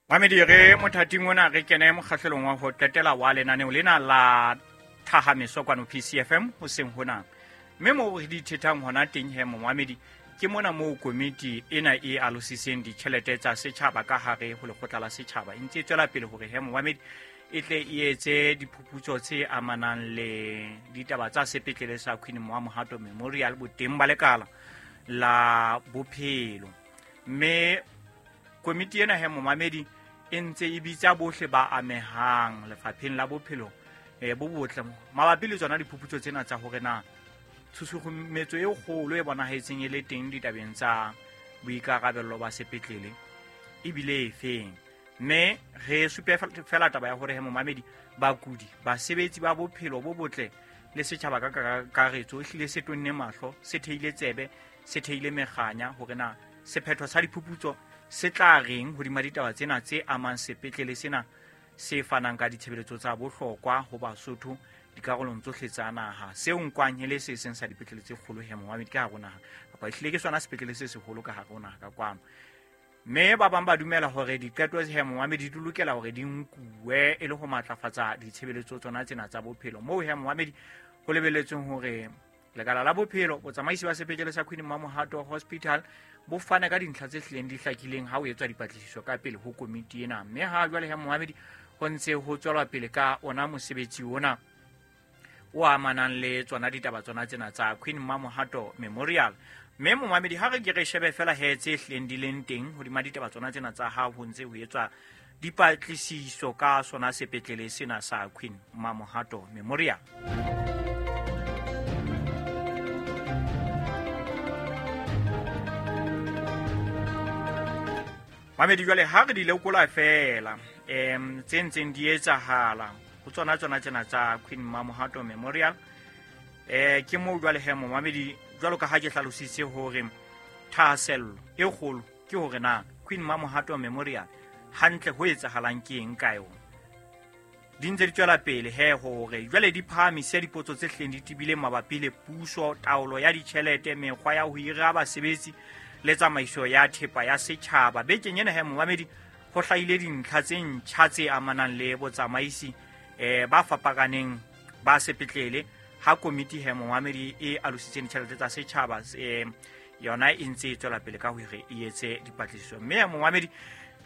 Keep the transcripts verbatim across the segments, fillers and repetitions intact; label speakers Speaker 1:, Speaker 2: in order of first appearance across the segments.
Speaker 1: Mamedi re mothating ona re kene mokgahlelong wa ho qetela wa lenaneo lena la Thahameso kwano P C F M hoseng hona. Mme moo re di thethang hona teng he momamedi ke mona moo komiti ena e alosiseng ditjhelete tsa setjhaba ka hare ho lekgotla la setjhaba. E ntse e tswela pele hore he momamedi e tle e etse diphuputso tse amanang le ditaba tsa sepetlele sa Queen Mamohato Memorial boteng ba lekala la bophelo. Mme komiti ena he momamedi e ntse e bitsa bohle ba amehang lefapheng la bophelo eh bo botle mabapi le tsona diphuputso tsena tsa hore na tshusumetso e kgolo e bonahetseng e le teng ditabeng tsa boikarabello ba sepetlele ebile efeng. Mme re supe fela taba ya hore he momamedi bakudi basebetsi ba bophelo bo botle le setjhaba ka kakaretso ehlile se tonne mahlo, se theile tsebe, se theile mekganya hore na sephetho sa diphuputso se tla reng hodima ditaba tsena tse amang sepetlele sena se fanang ka ditshebeletso tsa bohlokwa ho Basotho dikarolong tsohle tsa naha. Seo nkwang e le se seng sa dipetlele tse kgolo he momamedi ka hare ho naha, kapa ehlile ke sona sepetlele se seholo ka hare ho naha ka kwano. Mme ba bang ba dumela hore diqeto he momamedi di lokela hore di nkuwe e le ho matlafatsa ditshebeletso tsona tsena tsa bophelo. Moo he momamedi ho lebelletsweng hore lekala la bophelo, botsamaisi ba sepetlele sa Queen Mamohato Hospital bo fana ka dintlha tse hlileng di hlakileng ha ho etswa dipatlisiso ka pele ho komiti ena. Mme ha jwale he momamedi ho ntse ho tswelwa pele ka ona mosebetsi ona o amanang le tsona ditaba tsona tsena tsa Queen Mamohato Memorial. Mme momamedi ha re ke re shebe fela he tse hlileng di leng teng hodima ditaba tsona tsena tsa ha ho ntse ho etswa dipatlisiso ka sona sepetlele sena sa Queen Mamohato Memorial. Mamedi jwale ha re di lekola fela em tse ntseng di etsahala ho tsona tsona tsena tsa Queen Mamohato Memorial, eh ke moo jwale he momamedi jwalo ka ha ke hlalositse hore thahasello e kgolo ke hore na Queen Mamohato Memorial hantle ho etsahalang ke eng ka yona. Di ntse di tswela pele he hore jwale di phahamise dipotso tse hleng di tibileng mabapi le puso, taolo ya ditjhelete, mekgwa ya ho hira basebetsi le tsamaiso ya thepa ya setjhaba. Bekeng ena he momamedi ho hlahile dintlha tse ntjha tse amanang le botsamaisi eh ba fapakaneng ba sepetlele ha komiti he momamedi e alositseng ditjhelete tsa setjhaba eh yona e ntse e tswela pele ka hore e etse dipatlisiso. Mme momamedi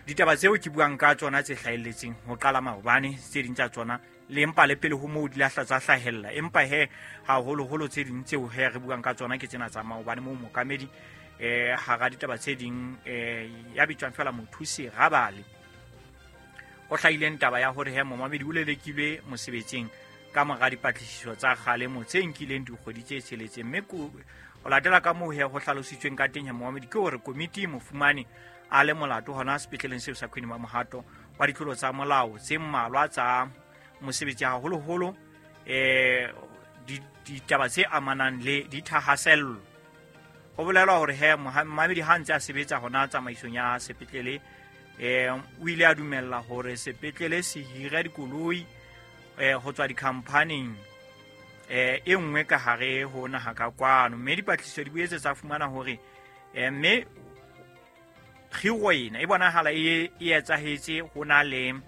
Speaker 1: ditaba tseo ke buang ka tsona tse hlahelletseng ho qala maobane, tse ding tsa tsona le empa le pele ho moo di lahla tsa hlahella, empa he haholoholo tse ding tseo he re buang ka tsona ke tsena tsa maobane moo mokamedi eh hara ditaba tse ding eh ya bitswang fela Mothusi Rabale ho hlahileng taba ya hore he momamedi o lelekilwe mosebetsing ka mora dipatlisiso tsa kgalemo tse nkileng dikgwedi tse tsheletseng. Mme ho latela ka moo he ho hlalositsweng ka teng he momamedi ke hore komiti e mo fumane a le molato hona sepetleleng seo sa Queen Mamohato wa ditlolo tsa molao tse mmalwa tsa mosebetsi, haholoholo eh ditaba tse amanang le dithahasello. Ho bolelwa hore he momamedi ha ntse a sebetsa hona tsamaisong ya sepetlele eh o ile a dumella hore sepetlele se hire dikoloi eh ho tswa dikhamphaning eh e nngwe ka hare ho naha ka kwano. Mme dipatlisiso di boetse tsa fumana hore eh mme kgiro ena e bonahala e e etsahetse ho na le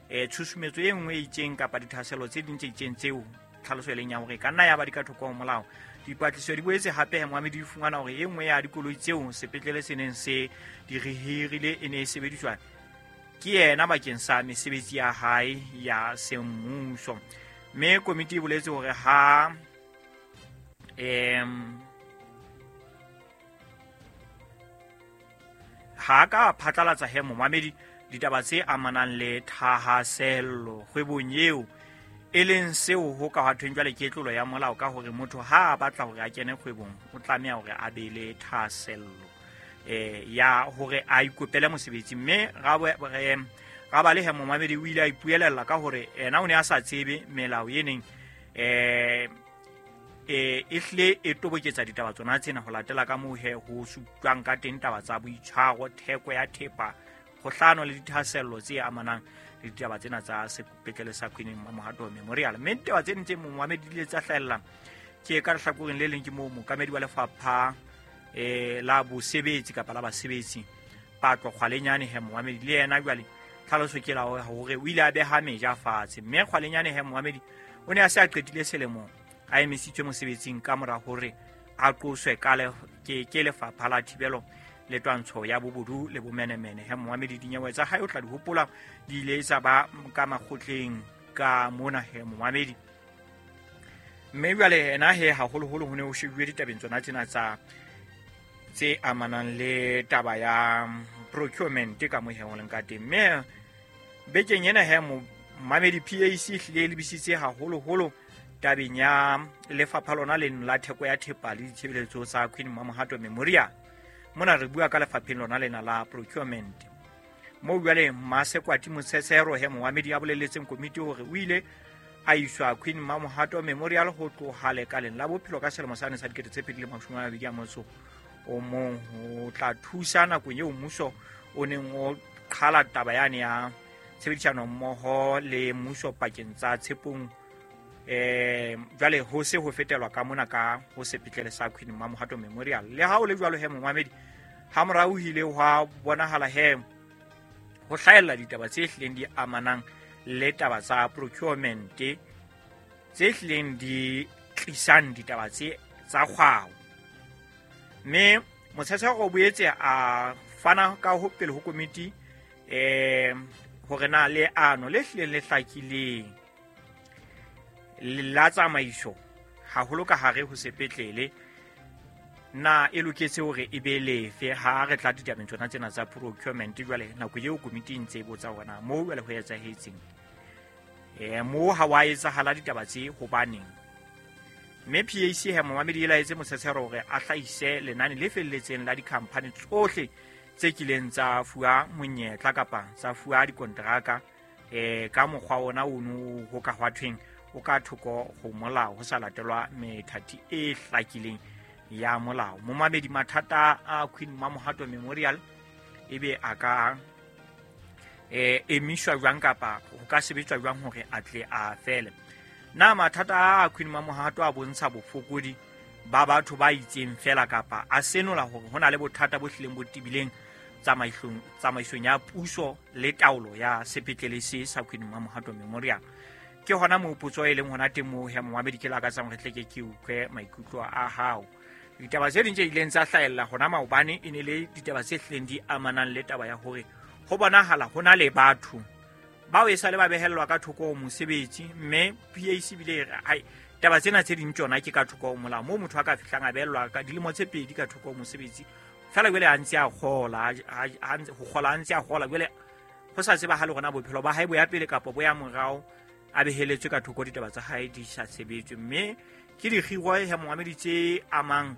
Speaker 1: eh tshusumetso e nngwe e itseng kapa dithahasello tse ding tse itseng tseo tlhaloso e leng ya hore ka nna ya ba di ka thoko ho molao. Dipatlisiso di boetse hape he momamedi di fumana hore e nngwe ya dikoloi tseo sepetlele se neng se di rehirile e ne e sebediswa ke yena bakeng sa mesebetsi ya hae ya semmuso. Mme komiti e boletse hore ha em ha ka phatlalatsa he momamedi ditaba tse amanang le thahasello kgwebong eo e leng seo ho ka thweng jwale ke tlolo ya molao ka hore motho ha a batla hore a kene kgwebong o tlameha hore a be le thahasello eh ya hore a ikopele mosebetsi. Mme Rabale he momamedi o ile a ipuelella ka hore ena o ne a sa tsebe melao e neng eh e ehle e toboketsa ditaba tsona tsena ho latela ka moo he ho supjwang ka teng taba tsa boitshwaro, theko ya thepa, kgohlano le dithahasello tse amanang le ditaba tsena tsa sepetlele sa Queen Mamohato Memorial. Mme ditaba tse ding tse momamedi di ile tsa hlahella ke ka lehlakoreng le leng ke moo mookamedi wa lefapha eh la bosebetsi kapa la basebetsi Patlo Kgwalenyane he momamedi le yena jwale Tlhaloso ke la hore o ile a beha meja fatshe, mme Kgwalenyane he momamedi o ne a se a qetile selemo a emisitswe mosebetsing ka mora hore a qoswe ka le ke ke lefapha la thibelo le twantsho ya bobodu le bomenemene. He momamedi dinyewe tsa hae o tla di hopola di ile tsa ba ka makgotleng ka mona he momamedi. Mme jwale ena he haholoholo ho ne ho shebuwe ditabeng tsona tsena tsa tse amanang le taba ya procurement ka mo he ho leng ka teng. Mme bekeng ena he momamedi P A C e hlile e lebisitse haholoholo tabeng ya lefapha lona leno la theko ya thepa le ditshebeletso tsa Queen Mamohato Memorial. Mona re bua ka lefapheng lona lena la procurement. Moo jwale Masekwati Motshetsero he momamedi a boleletseng komiti hore o ile a iswa Queen Mamohato Memorial ho tloha lekaleng la bophelo ka selemo sa sa dikete tse pedi le mashome a mabedi a motso o mong ho tla thusa nakong eo mmuso o neng o qhala taba yane ya tshebedisano mmoho le mmuso pakeng tsa Tshepong. Eh jwale ho se ho fetelwa ka mona ka ho sepetlele sa Queen Mamohato Memorial. Le ha o le jwalo he momamedi, ha morao hile hwa bonahala he ho hlahella ditaba tse hlileng di amanang le taba tsa procurement tse hlileng di tlisang ditaba tse tsa kgwao. Mme Motshetsero o boetse a fana ka ho pele ho komiti eh hore na leano le hlileng le hlakileng la tsamaiso haholo ka hare ho sepetlele na e loketse hore e be lefe ha re tla ditabeng tsona tsena tsa procurement. Jwale nako eo komiti e ntse e botsa hore na moo jwale ho etsahetseng, eh moo ha wa etsahala ditaba tse hobaneng. Mme P A C he momamedi e laetse Motshetsero hore a hlahise lenane le felletseng la dikhamphani tsohle tse kileng tsa fuwa monyetla kapa tsa fuwa dikonteraka eh ka mokgwa ona ono ho ka hwa thweng o ka thoko ho molao ho sa latelwa methati e hlakileng ya molao. Momamedi mathata a Queen Mamohato Memorial ebe a ka eh emiswa jwang kapa ho ka sebetswa jwang hore a tle a fele. Na mathata a Queen Mamohato a bontsha bofokodi ba batho ba itseng fela kapa a senola hore hona le bothata bo hlileng bo tebileng tsamaisong tsamaisong ya puso le taolo ya sepetlele se sa Queen Mamohato Memorial? Ke hona moo potso e leng hona teng moo he momamedi ke lakatsang hore tle ke ke utlwe maikutlo a hao. Ditaba tse ding tse ileng tsa hlahella hona maobane e ne le ditaba tse hlileng di amanang le taba ya hore ho bonahala ho na le batho bao e sa le ba behellwa ka thoko ho mosebetsi, mme P A C bile e re ai taba tsena tse ding tsona ke ka thoko ho molao moo motho a ka fihlang a behellwa ka dilemo tse pedi ka thoko ho mosebetsi fela jwale a ntse a kgola ho kgola a ntse a kgola jwale ho sa tsebahale hore na bophelo ba hae bo ya pele kapa bo ya morao, a beheletswe ka thoko ditaba tsa hae di sa sebetswe. Mme ke dikgiro he momamedi tse amang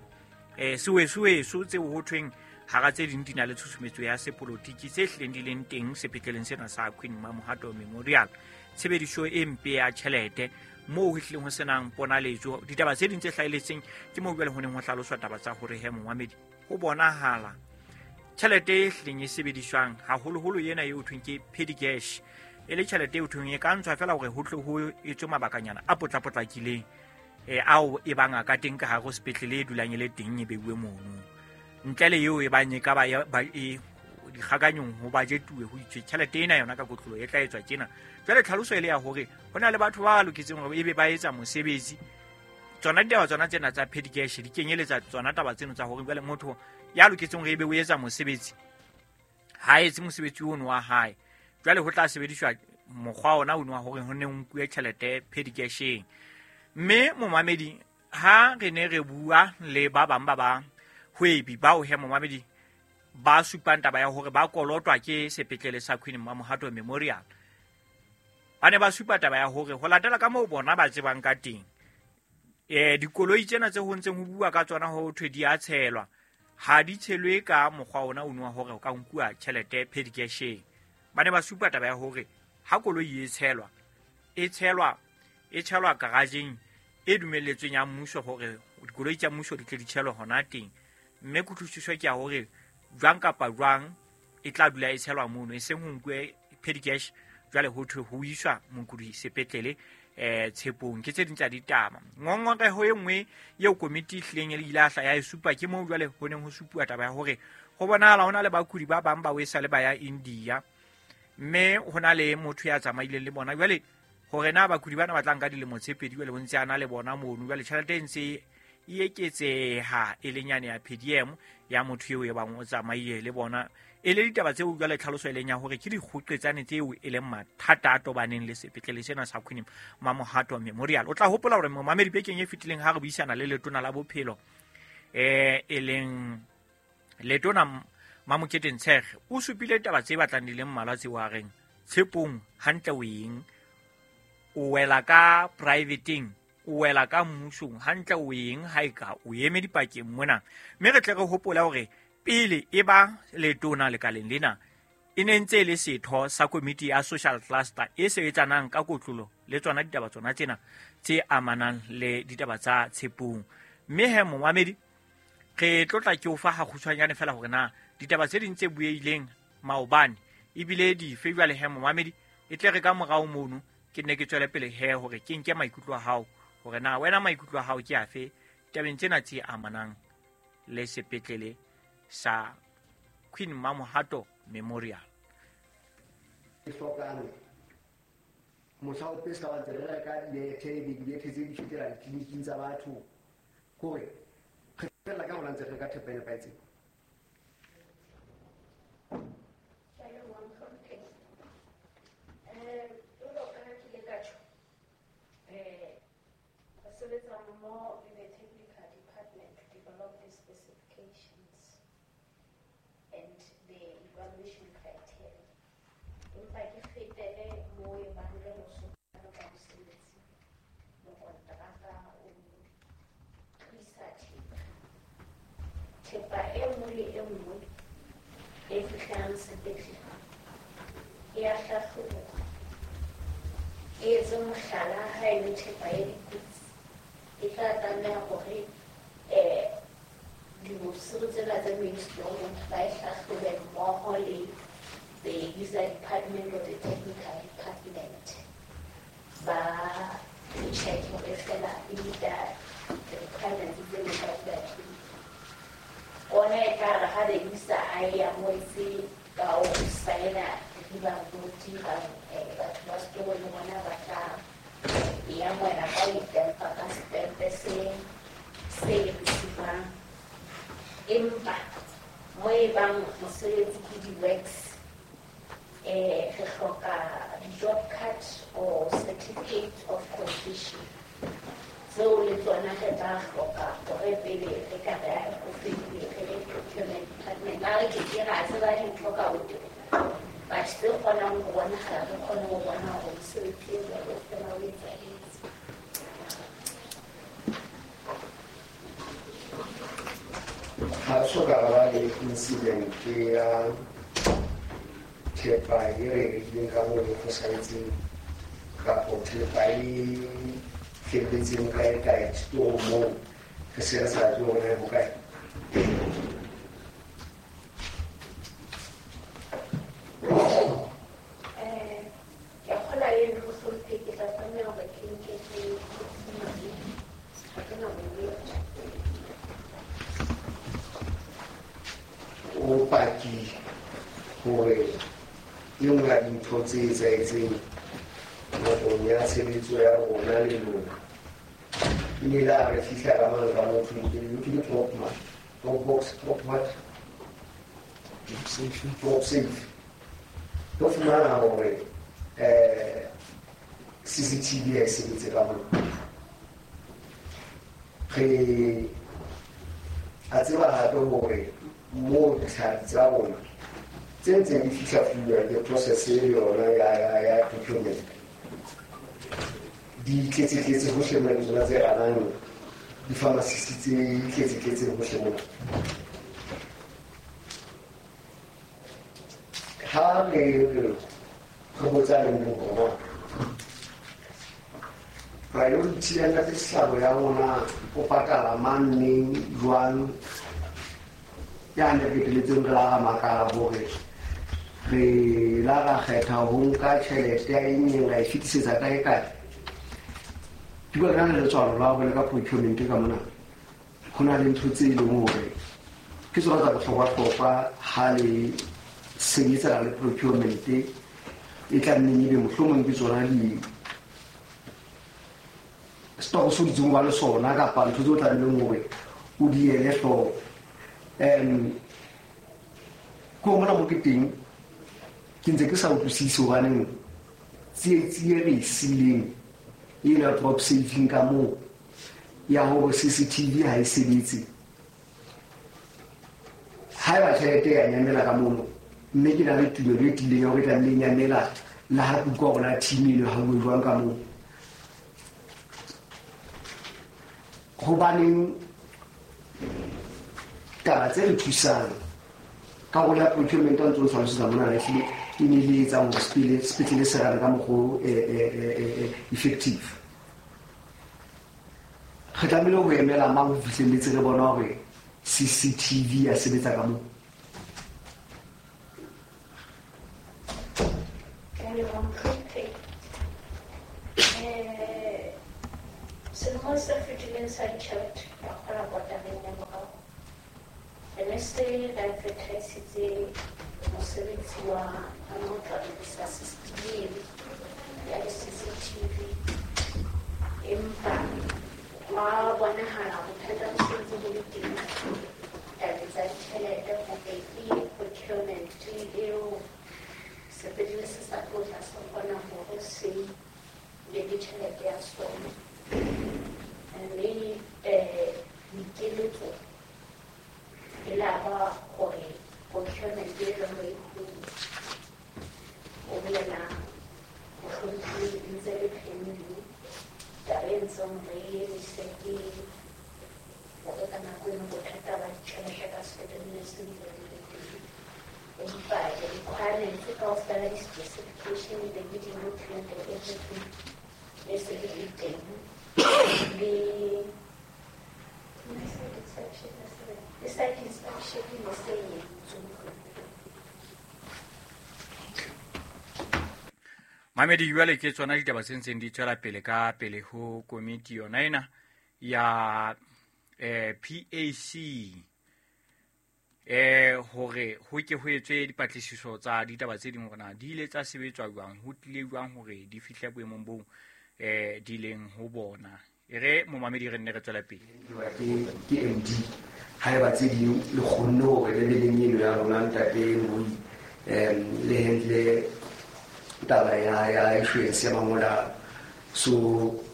Speaker 1: eh seweseweso tseo ho thweng hara tse ding di na le tshusumetso ya sepolotiki tse hlileng di leng teng sepetleleng sena sa Queen Mamohato Memorial. Tshebediso e mpe ya tjhelete moo ho hlileng ho senang ponaletso. Ditaba tse ding tse hlahelletseng ke moo jwale ho neng ho hlaloswa taba tsa hore he momamedi ho bonahala tjhelete e hlileng e sebediswang haholoholo ena eo thweng ke petty cash e le tjhelete eo thweng e ka ntshwa fela hore ho tle ho etswe mabakanyana a potlapotlakileng eh ao e bang a ka teng ka hare ho sepetlele e dulang e le teng e beuwe mono ntle le eo e bang e ka ba e dikgakanyong ho budgetuwe ho itswe tjhelete ena yona ka kotlolo e tla etswa tjena. Jwale tlhaloso e le ya hore ho na le batho ba loketseng hore ebe ba etsa mosebetsi. Tsona ditaba tsona tsena tsa petty cash di kenyeletsa tsona taba tseno tsa hore jwale motho ya loketseng hore ebe o etsa mosebetsi ha etse mosebetsi ono wa hae, jwale ho tla sebediswa mokgwa ona ono wa hore ho ne ho nkuwe tjhelete petty casheng. Mme momamedi ha re ne re bua le ba bang ba ba hwebi bao he momamedi ba supang taba ya hore ba kolotwa ke sepetlele sa Queen Mamohato Memorial, ba ne ba supa taba ya hore ho latela ka moo bona ba tsebang ka teng eh dikoloi tsena tse ho ntseng ho bua ka tsona ho thwe di a tshelwa ha di tshelwe ka mokgwa ona ono wa hore o ka nkuwa tjhelete petty casheng. Ba ne ba supa taba ya hore ha koloi e tshelwa e tshelwa e tshelwa garageng e dumelletsweng ya mmuso hore dikoloi tsa mmuso di tle di tshelwe hona teng, mme kutlwisiso ke ya hore jwang kapa jwang e tla dula e tshelwa mono e seng ho nkuwe petty cash jwale ho thwe ho iswa mokudi sepetlele eh Tshepong. Ke tse ding tsa ditaba. Ngongoreho e nngwe eo komiti e hlileng e ile ya hla ya e supa ke moo jwale ho neng ho supuwa taba ya hore ho bonahala ho na le bakudi ba bang ba o e sa le ba ya India, Mme ho na le motho ya tsamaileng le bona jwale hore na bakudi bana ba tla nka dilemo tse pedi jwale bo ntse a na le bona mono jwale tjhelete e ntse e eketseha e le nyane ya P D M ya motho eo e bang o tsamaile le bona. E le ditaba tseo jwale tlhaloso e leng ya hore ke dikgoqetsane tseo e leng mathata a tobaneng le sepetlele sena sa Queen Mamohato Memorial. O tla hopola hore momamedi bekeng e fetileng ha re buisana le letona la bophelo eh e leng letona Mamokete Ntshege o supile ditaba tse batlang di le mmalwa tseo a reng tshepong hantle o eng, o wela ka privateng, o wela ka mmusong hantle o eng ha e ka o eme dipakeng mona. Mme re tle re hopola hore pele e ba letona lekaleng lena e ne ntse e le setho sa komiti ya social cluster e sebetsanang ka kotlolo le tsona ditaba tsona tsena tse amanang le ditaba tsa tshepong. Mme he momamedi re tlotla ke o fa ha kgutshwanyane fela hore na ditaba tse ding tse bueileng maobane ebile dife jwale he momamedi e tle re ka morao mono ke nne ke tswele pele he hore ke nke maikutlo a hao hore na wena maikutlo a hao ke afe tabeng tsena tse amanang le sepetlele sa Queen Mamohato Memorial.
Speaker 2: Ke hlokang mohla o pesa wa ntse re reka diethe di diethe tse di fetela ditleliniking tsa batho hore re fella ka hona ntse re ka thepa e nepahetseng.
Speaker 3: More with the technical department to develop the specifications and the evaluation criteria. Empa ke fetele mo e bang le mosokano ka mosebetsi, mokonteraka o tlisa thepa. Thepa e nngwe le e nngwe e fihlang sepetlele e a hlahlobuwa. E etse mohlala ha e le thepa ya dikotsi e tla tlameha hore eh diofisiri tsena tsa Ministry of Health ba e hlahlobe mmoho le the user department or the technical department ba check hore fela e meet-a the requirements tse leng ka dibatleng. Ona e tla re ha the user a e amohetse ka ho saena ribangoti bang batho ba setoro le bona ba tla e amohela ka ho itempa ka setempe se se receivang. Empa mo e bang mosebetsi ke di-works eh re hloka di-job card or certificate of completion tseo le tsona re tla hloka hore pele re ka re a go fedile re le procurement department. A re ke ke ra tseba dintho ka ho teba but tse kgonang ho bonahala re kgone ho bona hore mosebetsi e jwalo fela o etsahetse.
Speaker 2: Ha so ka ba le incident ya thepa e re rekileng ka moo e fosahetseng kapo thepa e felletseng kae kae setorong moo re se re sa tsebe hore na e hokae.
Speaker 3: Eh ke a kgolwa le ntho mohlomphehi ke tla tlameha hore ke nke ke ha ke na bonnete.
Speaker 2: O paki hore e nngwe ya dintho tse etsahetseng nakong ya tshebetso ya rona le lona e ne la re fihla ka mane ka motho ke le drop man, drop box, drop what? Drop safe. Re fumana hore eh C C T V ha e sebetse ka mona. Re a tseba hape hore moo ditlhapi tsa rona tse ntseng di fihla fuwa le process e yona ya ya ya procurement di tletse-tletse hohle mona le tsona tse ranang di-pharmacist tse tletse-tletseng hohle mona. Ha re re botsa le mong hore na priority ya Ntate Sehlabo ya rona o patala mang neng jwang ya ne re qetelletseng re la ra makala hore re la ra kgetha ho nka tjhelete ya eng neng ra e fetisetsa kae kae. Ke bua ka letswalo la hore le ka procurement ka mona ho na le ntho tse e leng hore ke tsona tsa bohlokwa-hlokwa ha le sebetsana le procurement E tla nneng ebe mohlomong ke tsona di setoko se o dutseng ba le sona kapa ntho tse o tlamehileng hore o di ele hloko. Um ke ho mona mo ke teng ke ntse ke sa utlwisise hobaneng tsietsi e re e siileng e la drop saving ka moo ya hore C C T V ha e sebetse. Haeba tjhelete ya nyamela ka mono, mme ke na le tumelo e tiileng ya hore e tlamehile e nyamela le ha ke utlwa hore na team eno ha bue jwang ka moo. Hobaneng taba tse re thusang ka hore ya procurement a ntse o tlhalosetsa mona na ehlile e ne le etsang hore sepetlele sepetlele se rane ka mokgwa o effective. Re tlamehile ho emela mang ho fihlelletse re bona hore C C T V ya sebetsa ka moo?
Speaker 3: Eh, selemong se fetileng sa ditjhelete ka kgola kotareng ya morao, re ne se re advertisitse mosebetsi wa ho tla lokisa system ya di-C C T V, empa hwa bonahala bothata bo sentse bo le teng tabeng tsa ditjhelete hore ke procurement eo sepetlele se sa tlo tla se kgona hore se be le tjhelete ya sona. Mme um dikeletso e la ba hore procurement e leng re o bolela mohlomphehi ntse le pending taba e ntseng re emise ke hore ka nako eno bothata ba ditjhelete ka sepetlele se bile bo le teng. Empa di-requirements kaofela di-specification le di-document and everything ne se di le teng. Le le site inspection ne se e entswe.
Speaker 1: Mamedi, jwale ke tsona ditaba tse ntseng di tswela pele ka pele ho komiti yona ena ya eh, P A C eh hore ho ke ho etswe dipatlisiso tsa ditaba tse ding hore na di ile tsa sebetswa jwang, ho tlile jwang hore di fihle boemong boo eh di leng ho bona. E re momamedi re nne re tswela pele.
Speaker 2: Ke ke M D haeba tse ding le kgonne hore le be le eno ya rona ntate Morui um le handle taba ya ya insurance ya mangolo. So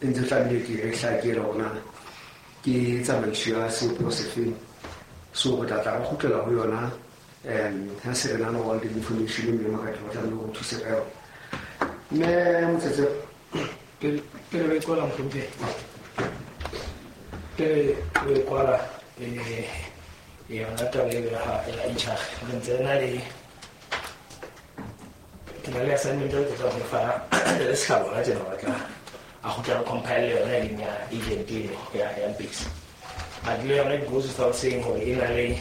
Speaker 2: e ntse tlamehile ke re hlakele hore na ke tsamaiso ya sebopeho sefeng. So re tla tla re kgutlela ho yona um ha se re na le all the information mme Makati ba tlamehile ho thuse ka yona. Mme Motsetse
Speaker 4: pele pele re kwala mohlomphehi, pele re kwala eh yona taba eo ya ya H R re ntse re na le ke na le assignment eo ke tla ho fa le Sehlabo la tjena ba tla a kgutla re compile yona e leng ya agent eno ya ya Mpesa. But le yona it goes without saying hore e na le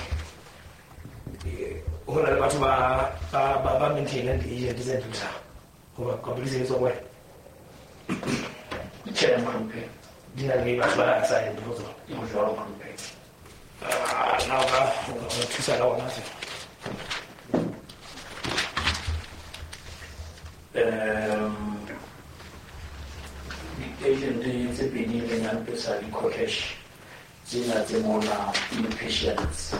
Speaker 4: ho na le batho ba ba ba ba maintainang di-agent tse dutlang hoba company se etswa kwena.
Speaker 5: Tjhe, mohlomphehi.
Speaker 4: Di na le batho ba assigned ho tsona.
Speaker 5: Ho jwalo, mohlomphehi.
Speaker 4: Ah, na o ka o ka thusa ka ona se?
Speaker 5: Um, di-agent tse pedi leng ya Mpesa le Cocash tsena tse mona inpatients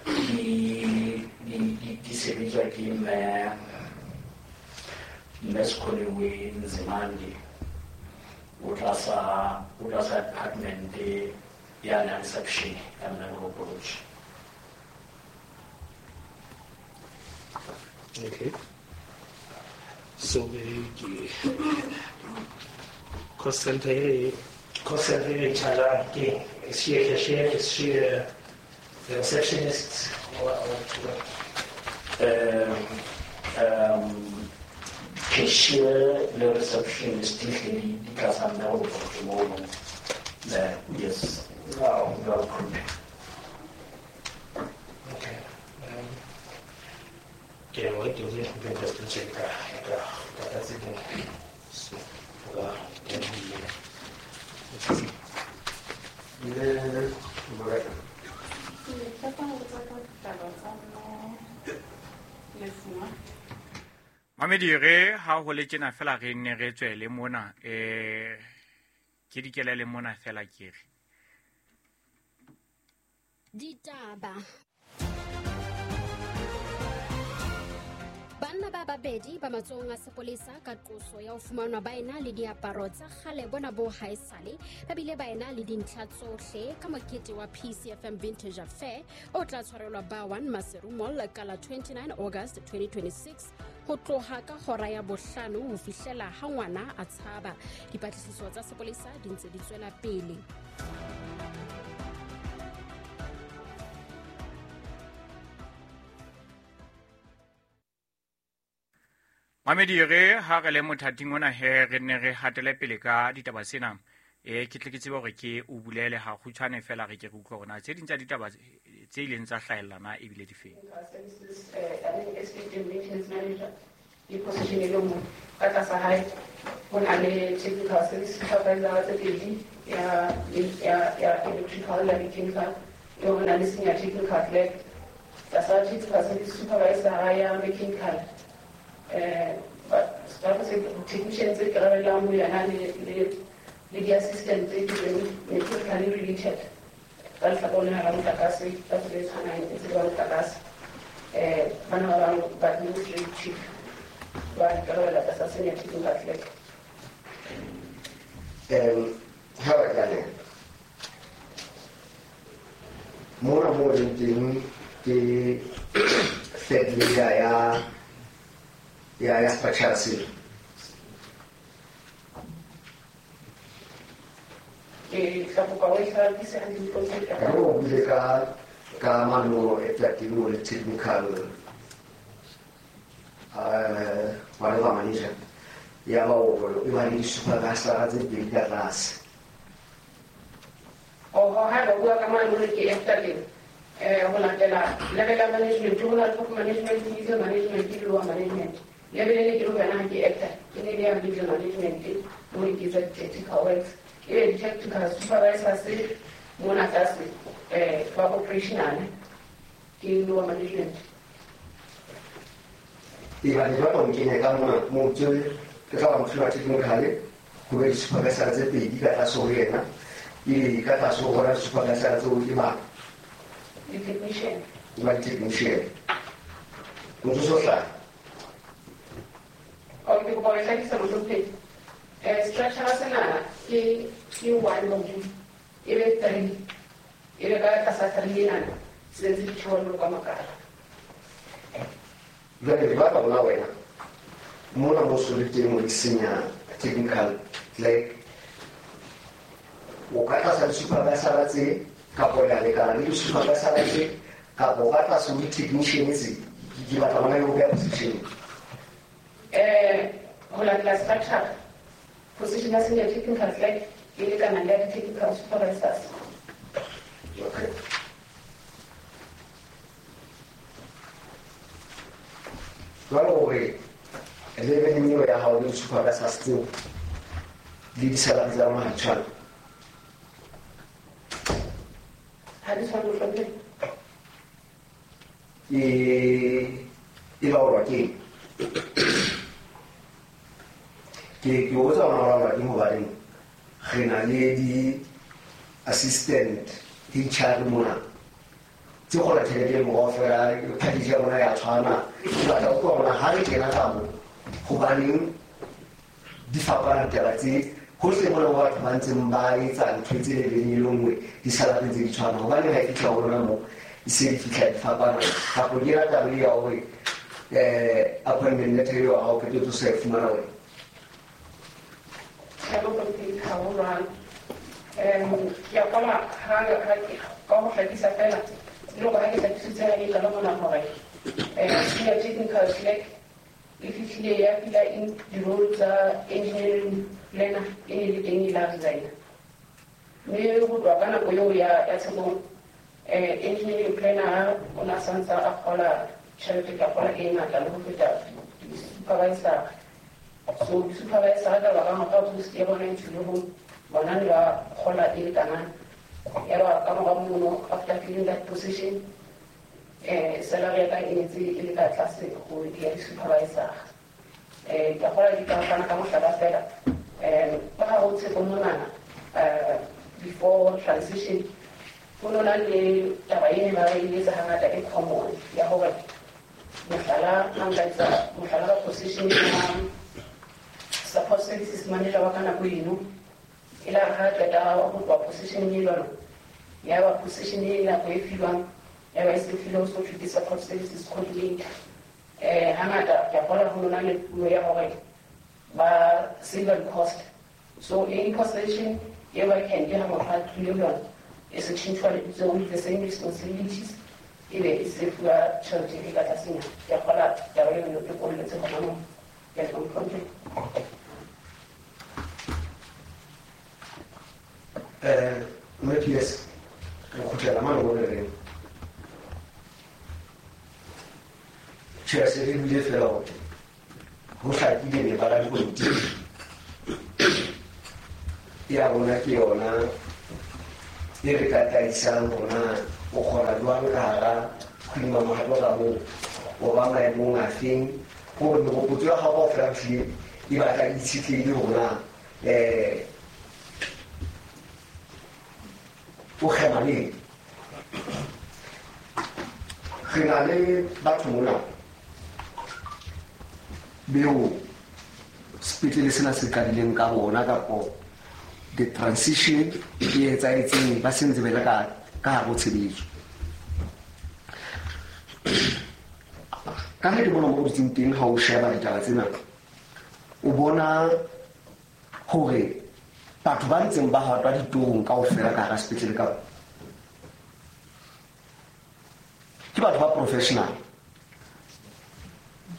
Speaker 5: di di di di sebetswa ke mme mme Sekholiwe Nzimande o tlasa o tlasa department ya na reception ya mme Moropolotsi.
Speaker 4: Okay. So ke cost center e cost center e charge ke is she a cashier, is she a receptionist or, or
Speaker 5: um um cashier le receptionist di hle di di tlasa mme Moropolotsi mono. Eh, yes.
Speaker 4: Wow.
Speaker 5: Jwalo, mohlomphehi.
Speaker 4: Okay. Um, ke a ke o ke just to check ka ka ka tse ding. So, ka ke
Speaker 2: Le Morena.
Speaker 6: Ke tshepa ho botsa ka ditaba tsa mme Lefuma.
Speaker 1: Mamedi re ha ho le tjena fela re nne re tswele mona eh ke dikelele mona fela ke re
Speaker 6: ditaba. Banna ba babedi ba matsohong a sepolesa ka qoso ya ho fumanwa ba ena le diaparo tsa kgale bona bo haesale ba bile ba ena le dintlha tsohle ka mokete wa P C F M Vintage Affair o tla tshwarelwa ba one Maseru Mall ka la twenty-nine August twenty twenty-six ho tloha ka hora ya bohlano ho fihlela ha ngwana a tshaba. Dipatlisiso tsa sepolesa di ntse di tswela pele.
Speaker 1: Mamedi re ha re le mothating ona he re ne re hatele pele ka ditaba tsena e ke tle ke tsebe hore ke o bulele ha kgutshwane fela re ke re utlwe hore na tse ding tsa ditaba tse ileng tsa hlahellana ebile di feng.
Speaker 7: Ke position e le nngwe ka tlasa hae ho na le technical service supervisor tse pedi ya ya ya electrical le mechanical, e ho na le senior technical clerk tlasa technical service supervisor ya mechanical. Eh ba se technicians tse ikarabellang ho yona le le le di-assistant tse teng mechanically related ka lehlakoreng la motlakase ka tsela e tshwanang e tsela ya motlakase. Eh bana ba bang ba administrative ba ikarabella tlasa senior technical clerk.
Speaker 2: Um ha ba tla mona mo leng teng ke third leader ya ya ya structure seo.
Speaker 7: Ke tla kopa o e hlakise hantle dipontsho.
Speaker 2: Re o buile ka ka mano e tla teng le technical eh whatever manager ya ba o e ba le di-supervisor tse pedi ka tlase.
Speaker 7: Oho, ha ba bua ka mano le ke efterleng eh ho latela level ya management ho na le top management, middle management le lower management. Level e ke lo yona ke actor ke ne le ya middle management mo ke etsa technical works e be di-technical supervisor se mona tlase eh ba operational ke lower management.
Speaker 2: E ba le ba o kenya ka mona mo tse ke tla ba motho wa technical ho be di-supervisor tse pedi ka tlase ho yena e ka tlase ho bona di-supervisor tseo ke ba
Speaker 7: di-technician
Speaker 2: ba di-technician motho so hlaha.
Speaker 7: O ke kopa ho e hlakisa mohlomphehi. Eh structure sena ke ke one module e be three e be ka tlasa three enana se ntse di tjholo ka makala.
Speaker 2: Jwale le batla bona wena mona mo so le teng mo senior technical clerk o ka tlasa di-supervisor tse kapo le a lekana le di-supervisor tse kapo ka tlase ho di-technician tse ke batla bona e o beha position.
Speaker 7: Eh ho latela structure position ya senior technical clerk e lekana le ya di-technical supervisors.
Speaker 2: Okay. Jwale hore leveleng eo ya hao le di-supervisors tseo le di-salary tsa lona ha di tshwane.
Speaker 7: Ha di tshwane mohlomphehi.
Speaker 2: E e laolwa ke eng? Ke ke botsa hona ho laolwa ke hobaneng re na le di-assistant H R mona tse kgola tjhelete e kaofela package ya rona ya tshwana. Ke batla ho utlwa hore ha re kena ka moo hobaneng di fapana taba tse hohle mona mo batho ba ntseng ba etsa ntho tse leveleng e le nngwe di-salary tse di tshwana hobaneng ha e fihla ho rona mo e se di fihla di fapana kapo ke yona taba e ya hore eh appointment letter eo ha o qetetse o sa e fumana wena.
Speaker 7: Tjhe mohlomphehi ha ho jwalo. Um ke a kgolwa ha ha ka ho hlakisa fela le hore ha ke hlakisitse ha ke qala mona hore eh senior technical clerk e fihlile ya fila in di-role tsa engineering planner e ne le teng e la resign. Mme ho tloha ka nako eo ya ya Tshekong eh engineering planner o na santsa a kgola tjhelete ka kgola e ngata le ho feta di-supervisor. So di-supervisor ka baka mora post ya bona e tswile ho bona ne ba kgola e lekanang. Ya ba ka mora mono after filling that position eh salary ya ka e ntse e le ka tlase ho ya di-supervisor. Um ke a kgolwa di ka fana ka mohlala fela um ka hare ho Tshepo monana um before transition ho no na le taba e ne ba e etsa hangata e common ya hore mohlala ha nka etsa mohlala ka position ya support services manager wa ka nako eno e la re ha qeta ho tloha position e jwalo ya ba position e nako e fiwang ya ba e se filwe ho so thwe ke support services coordinator. Um hangata ke a kgolwa ho na le puo ya hore ba save cost, so any position e vacant ha motho a tlile ho yona e se tjhentjhwa lebitso with the same responsibilities e be e se fuwa tjhelete e ka tlasenyana. Ke a kgolwa taba eno e kolletse hona moo. Ke a leboha mohlomphehi.
Speaker 2: Um mme P S re kgutlela mane mo re reng tjhe se re buile fela hore ho hlakile mebala ya dipolotiki ya rona ke yona e re tataisang rona o kgona jwang ka hara Queen Mamohato ka moo o ba maemong a feng hore meropotso ya hao kaofela ehlile e batla e itshetlehile hore na um o kgema le eng. Re na le batho mona beo sepetlele sena se qadileng ka bona kapo the transition e etsahetseng ba se ntse ba le ka ka hare ho tshebetso. Ka ha ke bona mo o dutseng teng ha o sheba ditaba tsena o bona hore batho ba ntseng ba hatwa ditorong kaofela ka hara sepetlele ka ke batho ba professional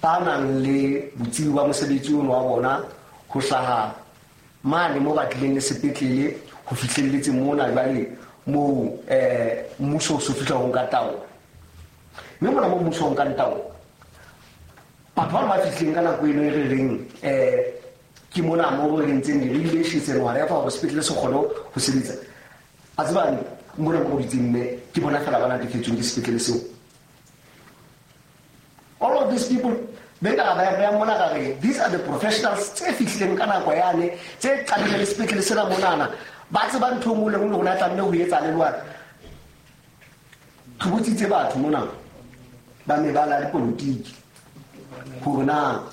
Speaker 2: ba nang le botsebi ba mosebetsi ono wa bona ho hlaha mane mo ba tlileng le sepetlele ho fihlelletse mona jwale moo um mmuso o so fihla ho nka taolo. Mme mona mo mmuso o nkang taolo batho bano ba fihlileng ka nako eno e re reng um ke mona mo re entseng di-regulations and whatever hore sepetlele se kgone ho sebetsa. A tseba mona mo dutseng mme ke bona fela ba natefetsweng ke sepetlele seo. All of these people be ka ba ya mona ka re these are the professionals tse fihlileng ka nako yane tse qadileng le sepetlele sena monana ba tseba ntho e nngwe le nngwe hore na tlamehile ho etsa le jwang. Re botsitse batho mona ba mebala ya dipolotiki hore na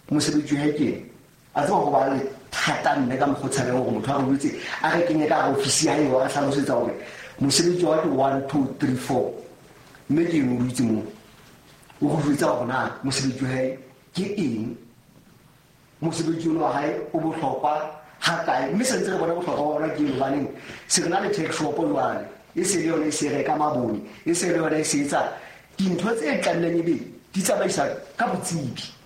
Speaker 2: mosebetsi wa hae ke eng. A tseba ho ba le thata mme ka mokgwa o tshabeng hore motho a re jwetse a re kenye ka hare ofisi ya hae wa re hlalosetsa hore mosebetsi wa ke one two three four mme ke eng o dutse moo o go jwetsa hore na mosebetsi wa hae ke eng, mosebetsi ono wa hae o bohlokwa ha kae, mme se ntse re bona bohlokwa ba ona ke eng hobaneng se re na le tax shop jwale e se le yona e se reka mabone e se le yona e se etsa dintho tse tlamehileng ebe di tsamaisa ka botsebi.